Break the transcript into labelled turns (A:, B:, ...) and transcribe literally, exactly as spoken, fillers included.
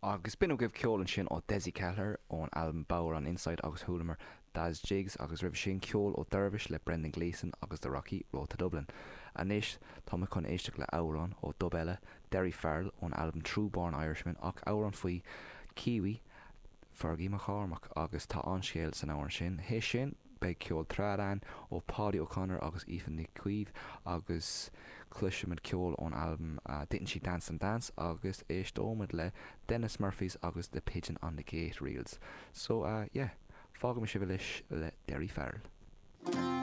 A: Agus b'in agaibh ceol ansin ó Dessie Kelleher ón albam Bodhrán Insight agus chualamar Daz Jigs agus roimhe sin ceol ó Dervish le Brendan Gleeson agus The Rocky Road to Dublin. Anois tá muid chun éisteacht le amhrán ó Dub eile Derry Farrell ón albam True Born Irishman ach amhrán faoi Kiwi Fergie McCormack agus tá an-scéal san amhrán sin. Théis sin beidh ceol trad ó Paudie O'Connor agus Aoife Ní Chaoimh agus cloisfimid ceol ón albam uh, Didn't She Dance and Dance agus éisteoimid le Dennis Murphys agus The Pigeon on the Gate Reels. So uh, yeah, fágfaidh mé sibh anois le Derry Farrell.